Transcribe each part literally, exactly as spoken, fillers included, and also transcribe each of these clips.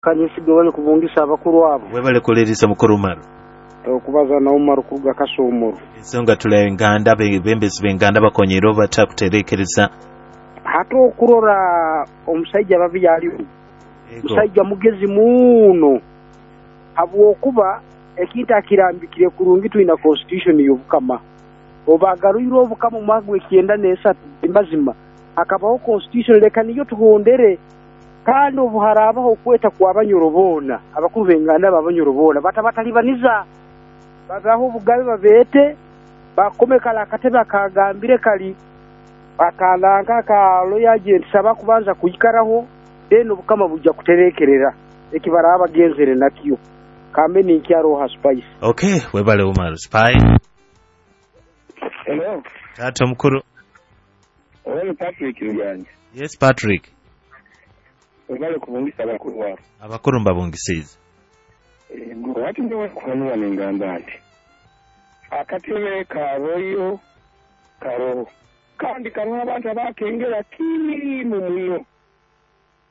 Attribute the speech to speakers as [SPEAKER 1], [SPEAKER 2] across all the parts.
[SPEAKER 1] Kanyesiga wali kubungisa abakuru abo.
[SPEAKER 2] Webale kuliriza mukuru Umaru.
[SPEAKER 1] Okubaza na Umaru kuruga Kasomoro.
[SPEAKER 2] Ensonga tula enganda bembezi b'enganda bakonyera oba kuterekereza.
[SPEAKER 1] Hata okurora omusajja babi yaliwo. Musajja mugezi muno. Habwokuba ekintu akirambikire kurungi twina constitution y'obukama. Obagarwire obukama omwaka gw'ekyenda n'esatu mazima akabaho constitution leka niyo tuhondere. Kandi obuharabaho okweta kw'abanyoro boona abakuru b'enganda b'abanyoro boona batabatalibaniza babaho obugabe babeete bakome kala akatebe akagambire kali akalanka ka royal agent saba kubanza kuyikaraho then obukama bujja kuterekerera ekibara abagenzere nakyo kambe ninkyaro Spice.
[SPEAKER 2] Okay, webale Umar Spice.
[SPEAKER 3] Hello.
[SPEAKER 2] Tata mukuru.
[SPEAKER 3] Owe Patrick Ruganja.
[SPEAKER 2] Yes Patrick.
[SPEAKER 3] Webale kubungisa abakuru wabo.
[SPEAKER 2] Abakuru mbabungisize.
[SPEAKER 3] Ego ati ndowe kuhanura nengamba nti akatebe karoyo karoho kandi karoho abantu abakengera kirimu muno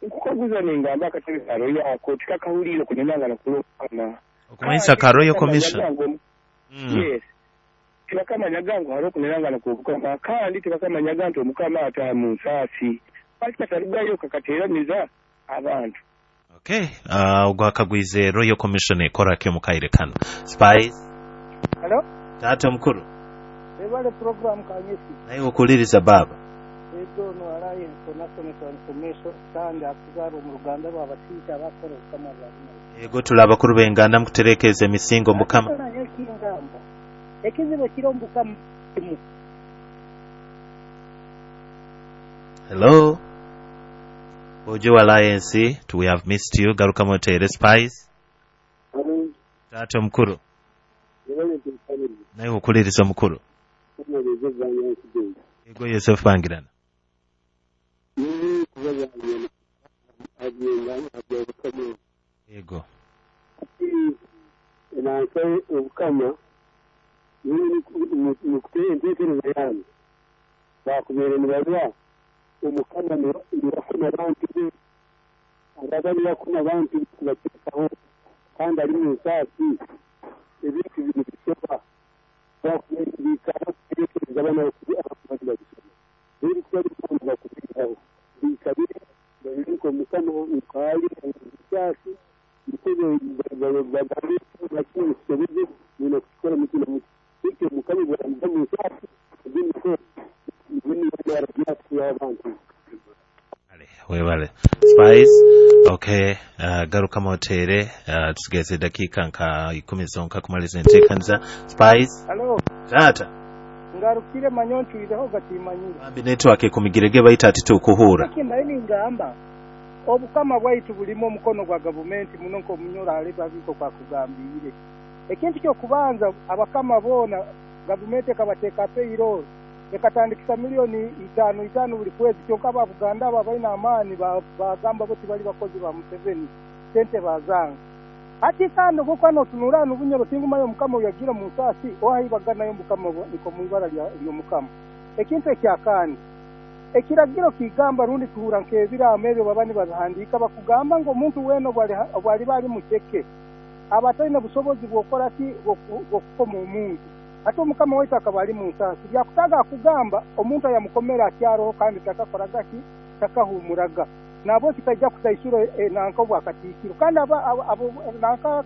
[SPEAKER 3] nkukaguza nengamba akatebe karoyo ako tikakahulire kunenangana kulokana
[SPEAKER 2] okumanyisa karoyo commission.
[SPEAKER 3] Mm. Yes, tibakamanyaga ngu hariho kunenangana kubukama kandi tibakamanyaga nti omukama ata mu nsaasi bakatarugayo kakateraniza abantu.
[SPEAKER 2] Okay, uh, ogwakagwize Royal Commission ekora ke mukaire kano. Spice.
[SPEAKER 4] Hello?
[SPEAKER 2] Tata mukuru.
[SPEAKER 4] Ebale program kanyesi.
[SPEAKER 2] Naye okuliriza baba.
[SPEAKER 4] Edo no Alliance for National Transformation kandi akuzaro mu Ruganda rw'abasita abakora obukama bwa Bunyoro.
[SPEAKER 2] Ego tulabakuru b'enganda mukuterekeza emisingo mukama.
[SPEAKER 4] Ekizibu kiri omukama.
[SPEAKER 2] Hello. Ojo Alliance, we have missed you. Garuka motere Spice.
[SPEAKER 5] Hello.
[SPEAKER 2] Tata mukuru. Naye okuliriza mukuru. Ego Yosef Bangirana. Ego.
[SPEAKER 5] Nanka obukama nukuteye enteekereza yange bakubeere nibarwa omukama nibakoma abantu be ababa nibakoma abantu kubateekaho kandi ari mu nsaasi ebintu bino bisoba bakubeere biikara kuteekereza abana abantu babisoma rero kuba bikoma bakubiraho biikabire babireka omukama nkaali nsaasi niko bagambe bakino kisobeze nina kukikora muti na muti bityo omukama bwaramuva mu nsaasi ebyo
[SPEAKER 2] Webale Spice. Okay, uh, garuka motere uh, tusigeze dakika nka ikumi zonka kumaliza enteekanza. Spice.
[SPEAKER 4] Hello.
[SPEAKER 2] Tata.
[SPEAKER 4] Ngarukire manyonchuireho gatimanyire.
[SPEAKER 2] Bambi network ekumigirege baita ati tukuhura.
[SPEAKER 4] Kimbaye ningamba obukama bwaitu bulimo omukono gwa gavumenti muno nko munyora ale babiko kwa kugambire. Ekintu kyo kubanza abakama bona gavumenti ekabateeka payroll ekatandikisa milioni itano itano buli kwezi kyonka aba Buganda aba balina amaani bagamba boti bali bakozi ba Museveni sente bazanga. Ati kandi obwokuba notunura n'obunyoro tingumayo omukama oyagira mu nsaasi ohaibaganayo omukama niko mu ibara ly'omukama. Ekintu ekyakandi ekiragiro kigamba rundi tuhura nk'ebiraamo ebyo baba nibabihandiika bakugamba ngu omuntu weena obwaliba ali mukeke aba atalina busobozi bw'okukora ki bw'okukoma omuntu. Ate omukama waitu akaba ali mu nsaasi byakutaga akugamba omuntu ayamukomera akyaroho kandi takakoraga ki takahumuraga nabo kitaija kutaisura e, nanka obwakatiikiro kandi abo nanka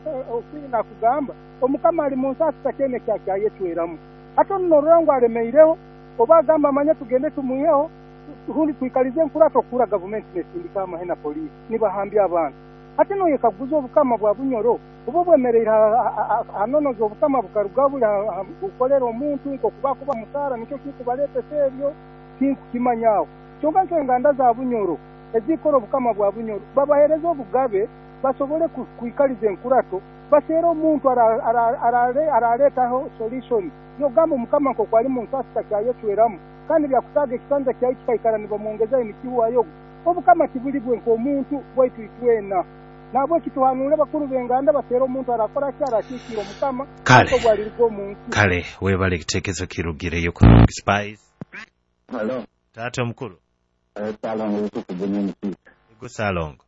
[SPEAKER 4] nakugamba omukama ali mu nsaasi takyene kyakyayecweramu. Ate onorora ngu alemeireho oba agamba amanya tugende tumwiheho rundi twikalize enkurato okura gavumenti nesindika amahe na polisi nibahambya abantu. Ate noyekaguza obukama bwa Bunyoro oba bwemereire hanonoza obukama bukaruga buli bukolera omuntu nkokuba kuba musaara nikyo kikubaletesa ebyo tinkukimanyaho. Kyonka nk'enganda za Bunyoro ezikora obukama bwa Bunyoro babahereza obugabe basobole kwikaliza enkurato baseera omuntu araleetaho solution yogamba omukama nkoku ali mu nsaasi takyayecweramu kandi byakutaga ekisanja kyayi kikaikara nibamwongezayo nikiwayo obukama kibuli bwe nk'omuntu bwaitu itwena. Nabwo kituhanure bakuru b'enganda baseera omuntu arakora ki arakiikira omukama obwaliruga omuntu.
[SPEAKER 2] Kale webale ekiteekezo kirugireyo ku Spice.
[SPEAKER 3] Hello.
[SPEAKER 2] Tata omukuru.
[SPEAKER 3] Salongo Yusufu Bunyoni.
[SPEAKER 2] Ego Salongo.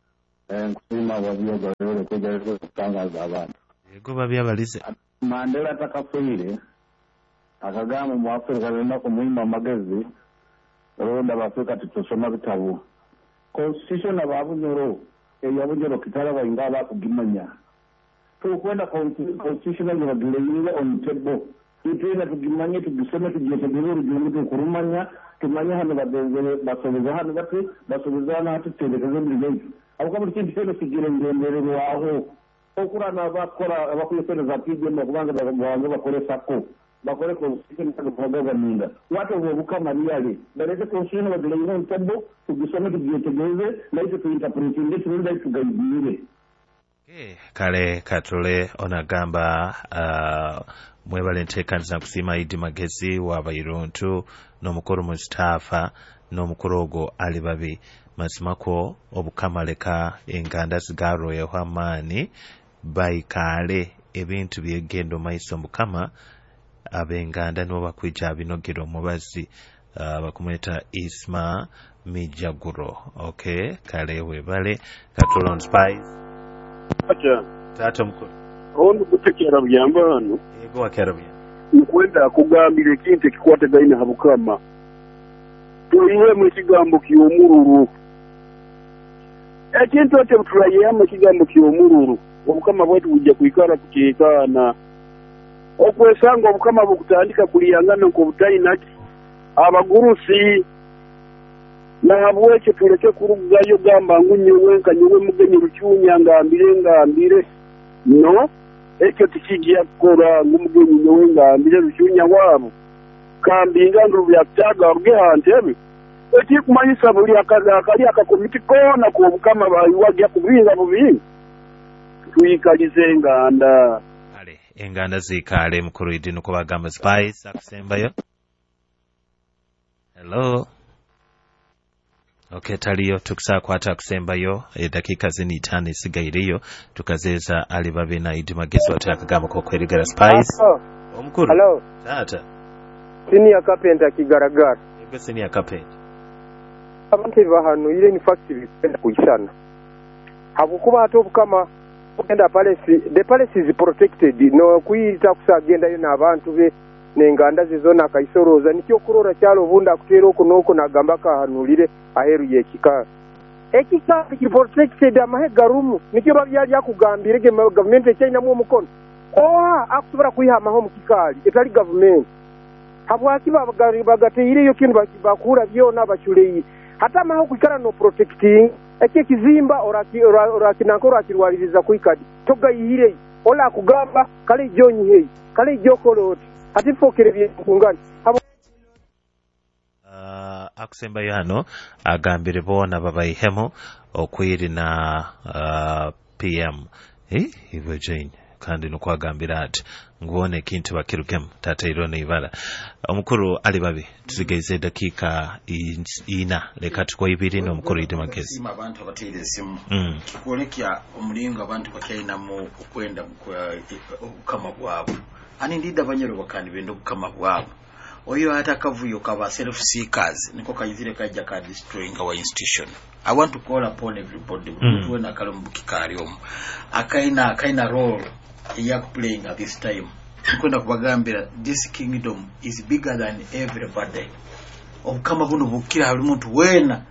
[SPEAKER 6] Nkusiima wabyogerere kwegereza okutangaza abantu.
[SPEAKER 2] Yego babyabalize.
[SPEAKER 6] Mandela atakafiire akagamba mu Afrika lina kumwima amagezi olonda abafrika titusoma bitabu. Constitution ababunyoro eyabunyoro kitala bayinga bakugimanya. Tukwenda constitution bagileyire on table. Itwena tugimanye tugisome tugiyetegere urugendo tukurumanya tumanye hano bagenzere basobeza hano bati basobeza hano hati tuterekeze muri aho buri kintu cyose kigira ingendererwaho okurana bakora abakuyesereza P D M kubanga babanze bakore sako bakore constitution kugabaninda watu obukama riyale bareke constitution bagileyire on table tugisome tugiyetegeze naitwe tuinterpretinge turinda tugayigire.
[SPEAKER 2] Kale katule onagamba uh, mwebale nteekaniza nkusiima Idi Magezi w'abairuntu n'omukuru Mustafa n'omukuru ogwo Ali Babi. Mazimako obukama leka enganda zigarweho amaani baikaale ebintu byegendo maiso mukama ab'enganda nibo bakwija abinogira omubazi uh, bakumweta Isma Mijaguro. Okay, kale webale katule on Spice.
[SPEAKER 7] Acha.
[SPEAKER 2] Tata mukuru.
[SPEAKER 7] Ono kutekera byamba hano.
[SPEAKER 2] Yego wakera byamba.
[SPEAKER 7] Nkwenda kugambira ekintu ekikwatagaine ha bukama. Tuyiwemu ekigambo ky'omururu. Ekintu ekyo turayihamu ekigambo ky'omururu. Obukama bwaitu bujja kwikara kuteekaana. Okwesanga obukama bukutandika kuliyangana nk'obutainaki abagurusi. Nahabwekyo tuleke kurugayo gamba ngu nyowe nka nyowe mugenyi Rucunya ngambire ngambire. No, ekyo tikijja kukora ngu mugenyi nyowe ngambire Rucunya waabo. Kambinga ngu byakutaga oruge ha ntebe. Ekikumanyisa buli akali akakomiti koona k'obukama bayiwagya kubinga bubinga. Tuyikalize enganda.
[SPEAKER 2] Kale, enganda ziikaale mukuru Idi nukwo bagamba Spice akusembayo. Hello. Okay, taliyo tukusakwata kusembayo edakika zini itaano esigaireyo tukazeeza Ali Babi na Idi Magezi wate akagamba kokwerigera Spice. Omukuru.
[SPEAKER 8] Hello.
[SPEAKER 2] Tata.
[SPEAKER 8] Senior Carpenter kigaragara.
[SPEAKER 2] Yego Senior Carpenter.
[SPEAKER 8] Abantu bahanuyire in fact bipenda kuisana. Habukuba ate obukama ogenda palace, the palace is protected no kuyita kusagendayo n'abantu be nenganda zizona akaisoroza nikyo kurora kyalo bunda akutera oku noko nagamba kahanulire aheru yekika ekika ki protected amahe garumu nikyo babyali akugambire ge government ekyayinamu omukono oha akusobora kuyihamaho mu kikaali etali government habwaki bagateireyo kintu bakura byona bachuleire hata amahe kwikara no protecting ekyo kizimba orakinanka orakirwaliriza kuikadi togayihire ola akugamba kale jonyi kale jokoloti ati fokere byekungani.
[SPEAKER 2] Uh, akusembayo hano agambire boona babayihemu okwiri na uh, P M eh iwe Jane kandi nukwagambira ati nguone ekintu bakirukemu tata irone ibara omukuru Ali Babi tusigaize dakika ina leka tukwa ibiri n'omukuru Idi Magezi.
[SPEAKER 9] Abantu abateire esimu
[SPEAKER 2] mm.
[SPEAKER 9] Kikwolekya omulingo abantu bakyainamu okwenda obukama bwabwe ani ndida abanyoro bakandi benda obukama bwabwe oyo ata akavuyo kaba self seekers niko kayizire kajja ka destroying our institution. I want to call upon everybody mm. Wena akali mu kikaali omu akaina akaina role eya playing at this time nkwenda kubagambira this kingdom is bigger than everybody. Obukama buno bukira buli muntu wena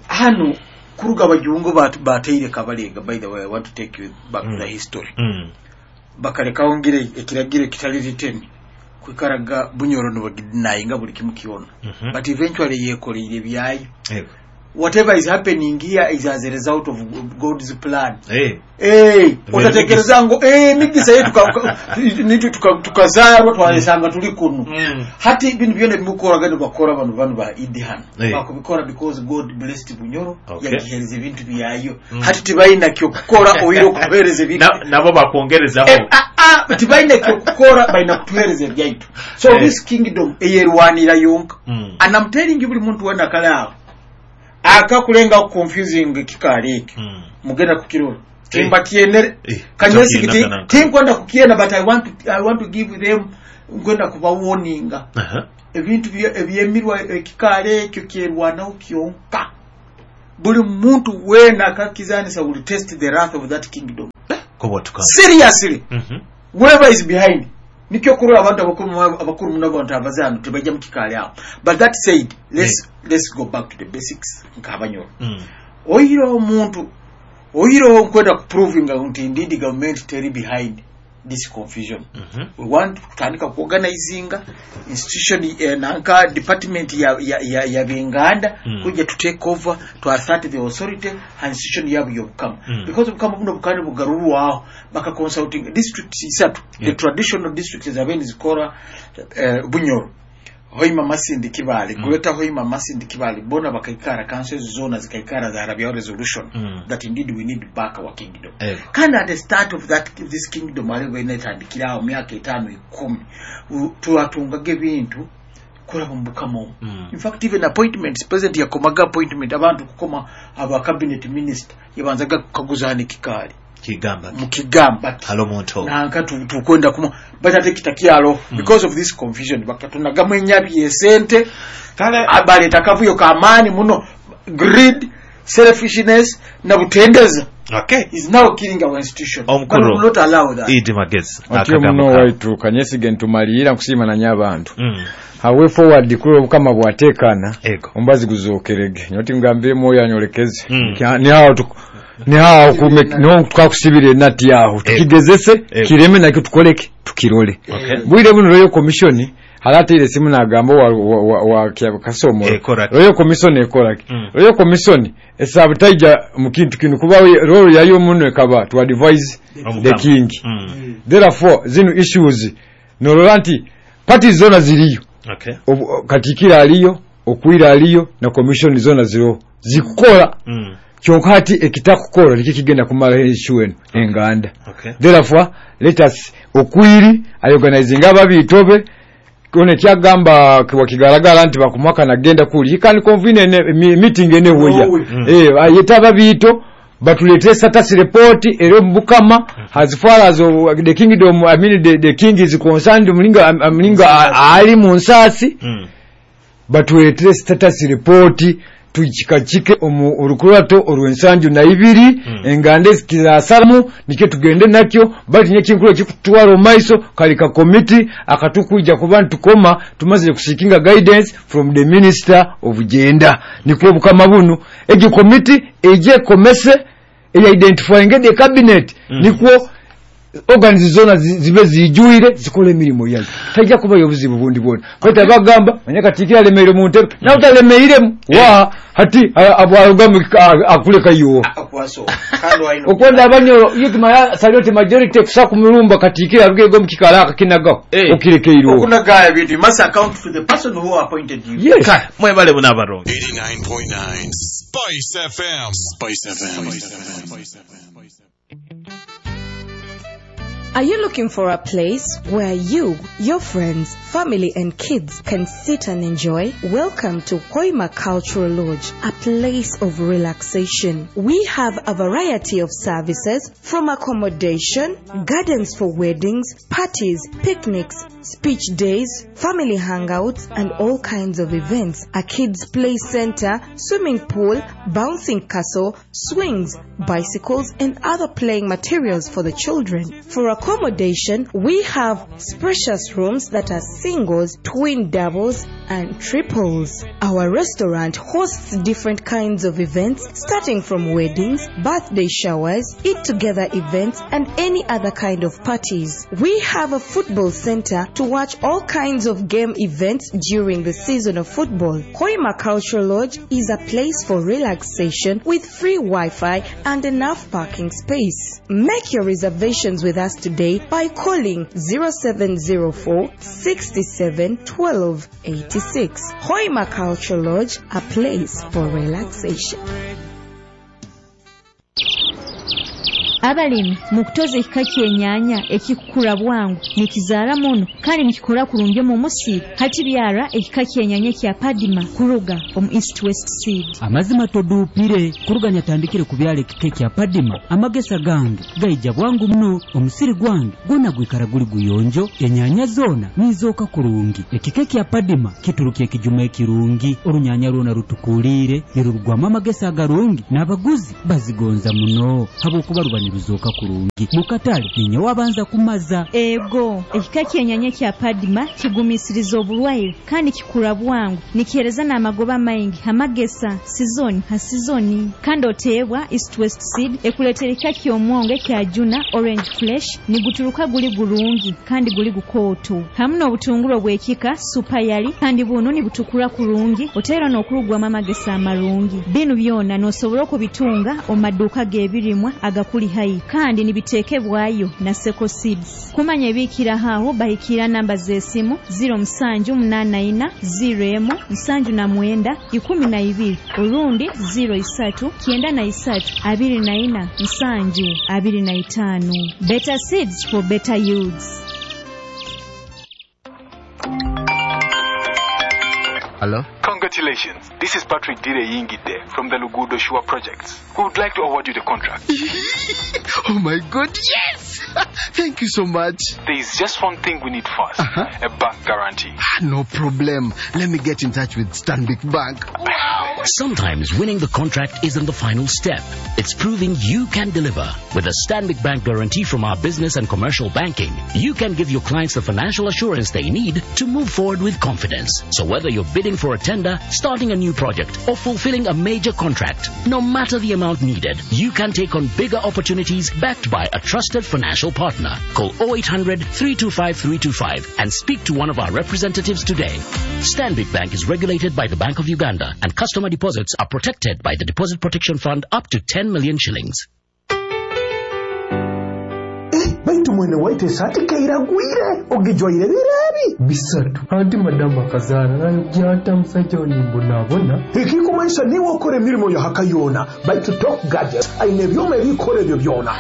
[SPEAKER 9] hano kuruga abajungu bateire kabalega. By the way, I want to take you back mm. to the history
[SPEAKER 2] mm.
[SPEAKER 9] Bakalekawo ngire ekiragiro ekitali written kwikaraga Bunyoro nobagidinayinga buli kimu kyona
[SPEAKER 2] mm -hmm.
[SPEAKER 9] But eventually yekoleire byayo
[SPEAKER 2] hey.
[SPEAKER 9] Whatever is happening here is as a result of God's plan.
[SPEAKER 2] Hey.
[SPEAKER 9] Hey, otatekereza ngo eh migisa yetu nitu tukazarwa twalesanga tuli kuno
[SPEAKER 2] mm.
[SPEAKER 9] Hati ibintu byone bimukora gano bakora bano bano ba Idi hano
[SPEAKER 2] hey.
[SPEAKER 9] Bakubikora because God blessed Bunyoro
[SPEAKER 2] okay.
[SPEAKER 9] Yagihereza ibintu byayo
[SPEAKER 2] mm.
[SPEAKER 9] Hati tibayina kyo kukora oyiro kuhereza ibintu
[SPEAKER 2] na, nabo bakongerezaho
[SPEAKER 9] eh, ah, ah, tibayina kyo kukora bayina kutuhereza byaitu. So
[SPEAKER 2] hey.
[SPEAKER 9] This kingdom eyerwanira yonka
[SPEAKER 2] mm.
[SPEAKER 9] And I'm telling you buli muntu wena kale aho akakulenga confusing kikaali ekyo
[SPEAKER 2] mm.
[SPEAKER 9] Mugenda kukirora
[SPEAKER 2] Hey.
[SPEAKER 9] Timba kienere
[SPEAKER 2] Eh,
[SPEAKER 9] kanyesi
[SPEAKER 2] tokiena
[SPEAKER 9] kiti
[SPEAKER 2] kananka.
[SPEAKER 9] tinkwenda kukiena but I want to, I want to give them nkwenda kuba warninga
[SPEAKER 2] uh -huh.
[SPEAKER 9] Ebintu ebyemirwa ekikaali ekyo kyerwanaho kyonka Buli muntu wena akakizanisa will test the wrath of that kingdom.
[SPEAKER 2] Kubwatuka.
[SPEAKER 9] Seriously.
[SPEAKER 2] Mhm.
[SPEAKER 9] Whoever is behind, nikyo kurora abantu abakuru abakuru muno, abantu abazano tebajja mu kikaali awo. But that said, let's, let's go back to the basics nk'Abanyoro.
[SPEAKER 2] Mm.
[SPEAKER 9] Oyira omuntu oyireho nkwenda kuprovinga nti indeed government teri behind this confusion.
[SPEAKER 2] Mhm.
[SPEAKER 9] We want kutandika kuorganizinga institution, eh, nanka department ya, ya, ya, ya benganda
[SPEAKER 2] Mm.
[SPEAKER 9] kujja to take over, to assert the authority and institution yabo y'obukama,
[SPEAKER 2] Mm.
[SPEAKER 9] because obukama buno bukandi bugarurwaho baka consulting districts isatu, the
[SPEAKER 2] Yeah.
[SPEAKER 9] traditional districts zabeni zikora, eh, Bunyoro, Hoima, Masindi, Kibale,
[SPEAKER 2] Mm.
[SPEAKER 9] Greater Hoima, Masindi, Kibale, bona bakaikara council zona zikaikara zarabyaho resolution
[SPEAKER 2] Mm.
[SPEAKER 9] that indeed we need back our kingdom.
[SPEAKER 2] Ego.
[SPEAKER 9] Kandi at the start of that this kingdom aliwo inetandikirawo myaka etaano ikumi, u- twatungaga ebintu kuraba mu bukama omwo.
[SPEAKER 2] Mm.
[SPEAKER 9] In fact, even appointments, president yakomaga appointment abantu kukoma aba cabinet minister, yabanzaga kukaguzaana ekikaali
[SPEAKER 2] Kigamba.
[SPEAKER 9] mukigamba ki
[SPEAKER 2] Halo muntu.
[SPEAKER 9] Nanka tu- tukwenda kuma, but ate kitakyalo
[SPEAKER 2] Mm.
[SPEAKER 9] because of this confusion bakatunagamu enyabi esente.
[SPEAKER 2] Kale
[SPEAKER 9] Baleeta akavuyo kamaani muno, greed, selfishness na butendeza
[SPEAKER 2] Okay.
[SPEAKER 9] is now killing our institution.
[SPEAKER 2] Omukulu.
[SPEAKER 9] But we will not allow that.
[SPEAKER 2] Idi Magezi.
[SPEAKER 10] Otyo
[SPEAKER 2] Akagambo
[SPEAKER 10] muno
[SPEAKER 2] kawe.
[SPEAKER 10] waitu kanyesige ntumalirira nkusiima nanye abantu.
[SPEAKER 2] Mm.
[SPEAKER 10] Hawe forward kuri obukama bwatekana,
[SPEAKER 2] Ego.
[SPEAKER 10] ombazi guzokerege nyoti ngambire mwoyo anyolekeze.
[SPEAKER 2] Mm.
[SPEAKER 10] Kya- nihawo tuku- nihawo kume- niho twakusibira enati yaho tukigezese
[SPEAKER 2] Ego.
[SPEAKER 10] kireme nakyo tukoleke tukirole.
[SPEAKER 2] Okay.
[SPEAKER 10] Bwire buno Royal Commission halateire esimu nagamba wa, wa, wa, wa kya- Kasomolo.
[SPEAKER 2] Ekoraki.
[SPEAKER 10] Royal Commission ekoraki?
[SPEAKER 2] Mm.
[SPEAKER 10] Royal Commission esabutaija mu kintu kino kuba role yayo muno ekaba to advise the
[SPEAKER 2] Omukama.
[SPEAKER 10] king.
[SPEAKER 2] Mm.
[SPEAKER 10] Therefore zino issues nolola nti parties zona ziriyo.
[SPEAKER 2] Okay.
[SPEAKER 10] Obu- katikiro aliyo, okwira aliyo, na commission zona ziriho zikukola.
[SPEAKER 2] Mm.
[SPEAKER 10] Kyonka hati ekitakukola nikyo kigenda kumalaho issue eno enganda.
[SPEAKER 2] Okay.
[SPEAKER 10] Therefore let us okwiri ayorganizinga ababitobe kone kyagamba wakigaragara nti bakumwaka nagenda kuli, he can convene ene, mi- meeting anywhere.
[SPEAKER 2] Mm.
[SPEAKER 10] Eh, ayeta ababito batulete status report ero mubukama as far as uh, the kingdom, I mean the, the king is concerned, mulinga mulinga ali mu nsasi.
[SPEAKER 2] Mm.
[SPEAKER 10] Batuletere status report tukikakike omu orukurato orwensanju na ibiri.
[SPEAKER 2] Mm.
[SPEAKER 10] Enganda ezikizasalamu nikyo tugende nakyo, bati nyekinkulu ekikutwara omumaiso kali ka committee akatukuija kuba ntukoma tumazire kuseekinga guidance from the minister of gender, nikwo obukama bunu egyo committee eje ekomese eya-identifying the cabinet.
[SPEAKER 2] Mm.
[SPEAKER 10] Nikwo organs zona zi- zibe zijuire zikole emirimu yayo, tajja kubayo obuzibu bundi bwona. Kweta bagamba manya katikira alemeire mu ntebe nawe utalemeiremu wa hati abwarugamu akuleka yo.
[SPEAKER 9] Akwaso kandi waino
[SPEAKER 10] Okwenda Abanyoro iyo tumaya saliote majority kusa kumulumba katikira arugego mukikala akakinagaho.
[SPEAKER 2] Eh.
[SPEAKER 10] Okirekeirwo.
[SPEAKER 9] Okunagaya ebintu, you must account to the person who appointed you.
[SPEAKER 10] Yes.
[SPEAKER 2] Kale mwebale muno abarongo.
[SPEAKER 11] eighty-nine point nine Spice F M. Spice F M. Spice F M.
[SPEAKER 12] Are you looking for a place where you, your friends, family, and kids can sit and enjoy? Welcome to Hoima Cultural Lodge, a place of relaxation. We have a variety of services from accommodation, gardens for weddings, parties, picnics, speech days, family hangouts, and all kinds of events. A kids' play center, swimming pool, bouncing castle, swings, bicycles, and other playing materials for the children. For accommodation, we have spacious rooms that are singles, twin doubles, and triples. Our restaurant hosts different kinds of events, starting from weddings, birthday showers, eat together events, and any other kind of parties. We have a football center to watch all kinds of game events during the season of football. Hoima Cultural Lodge is a place for relaxation with free Wi-Fi and enough parking space. Make your reservations with us today by calling zero seven zero four sixty-seven twelve eighty-six. Hoima Cultural Lodge, a place for relaxation.
[SPEAKER 13] Abalimi mukutoza ekika ky'enyaanya ekikukura bwangu nikizaara muno kandi nikikora kurungi omu musiri. Hati byara ekika ky'enyaanya kya Padima kuruga omu East West Seed.
[SPEAKER 14] Amazima toduupire kuruga nyatandikire kubyala ekika kya Padima, amagesa gange gaija bwangu muno, omusiri gwange gwona gwikara guli guyonjo, enyaanya zoona nizooka kurungi. Ekika kya Padima kituruka ekijuma ekirungi, orunyanya rwona rutukuliire nirurugwamu amagesa agarungi n'abaguzi bazigonza muno habwokuba ruba niruzooka kurungi. Mukatale ninye wabanza kumaza.
[SPEAKER 13] Ego, ekika ky'enyaanya kya Padima kigumisiriza oburwaire kandi kikura bwangu, nikihereza n'amagoba maingi amagesa sizoni ha sizoni. Kandi oteebwa East West Seed ekuleetera ekika ky'omwongo ekya Juna Orange Flesh niguturuka guli gurungi kandi guli gukooto, hamu n'obutunguru obw'ekika Super Yali kandi buno nibutukura kurungi oteera n'okurugwamu amagesa amarungi. Binu byona n'osobola okubitunga omu maduuka g'ebirimwa agakuli haihi kandi nibiteekebwayo na Seko Seeds. Kumanya ebiikiraho aho bahikira namba z'esimu ziro musanju munaana ina ziro emu nsanju na mwenda ikumi na ibiri orundi ziro isatu kyenda na isatu abiri na ina nsanju abiri na itaano. Better seeds for better yields.
[SPEAKER 15] Hello?
[SPEAKER 16] Congratulations. This is Patrick Dire Yingide from the Lugudo Shua Projects. We would like to award you the contract.
[SPEAKER 15] Oh my God, yes! Thank you so much.
[SPEAKER 16] There is just one thing we need first.
[SPEAKER 15] Uh-huh.
[SPEAKER 16] A bank guarantee.
[SPEAKER 15] Ah, no problem. Let me get in touch with Stanbic Bank.
[SPEAKER 17] Wow! Sometimes winning the contract isn't the final step. It's proving you can deliver. With a Stanbic Bank guarantee from our business and commercial banking, you can give your clients the financial assurance they need to move forward with confidence. So whether you're bidding for a tender, starting a new project, or fulfilling a major contract, no matter the amount needed, you can take on bigger opportunities backed by a trusted financial partner. Call oh eight hundred, three two five, three two five and speak to one of our representatives today. Stanbic Bank is regulated by the Bank of Uganda, and customer deposits are protected by the Deposit Protection Fund up to ten million shillings.
[SPEAKER 18] Baitu mwene waite esati keiragwire ogijwaire birebi
[SPEAKER 19] bisatu anti madamu akazaara nayojja musajja onimbonabona.
[SPEAKER 18] Ekikumaisa niwe okora emirimo ya haka yona, baitu Top Gadgets aine ebyoma ebikora ebyo byona.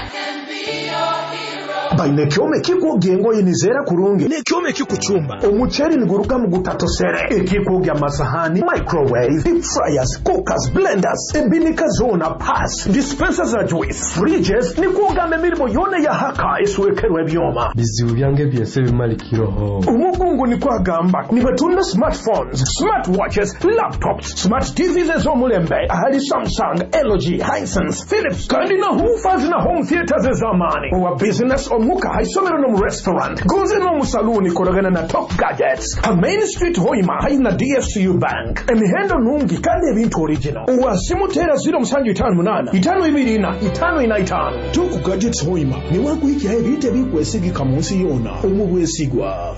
[SPEAKER 18] Baine ekyoma ekikwogya engoye nizeera kurungi n'ekyoma ekikucumba omuceeri niguruga mu gutatosere, ekikwogya amasahani, microwave, deep fryers, cookers, blenders, ebinika zoona, pass dispenser za juice, fridges, nikwogamba emirimo yona ya haka eswekerwa ebyoma.
[SPEAKER 19] Bizibu byange byose bimalikiroho.
[SPEAKER 18] Omugungu nikwagamba nibatunda smartphones, smartwatches, laptops, smart T Vs ez'omulembe ahali Samsung, L G, Hisense, Philips kandi na woofers na home theaters ez'amaani. Owa business omuka haisomero no mu restaurant gonze no mu saloon koragana na Top Gadgets ha Main Street Hoima haina D F C U Bank. Emihendo nungi kandi ebintu original. Owasimutera ziro musanju itano munana itano ibiri ina itano ina itano. Top Gadgets Hoima ni wakuikia ebintu ebikwesigika mu nsi yona omubwesigwa.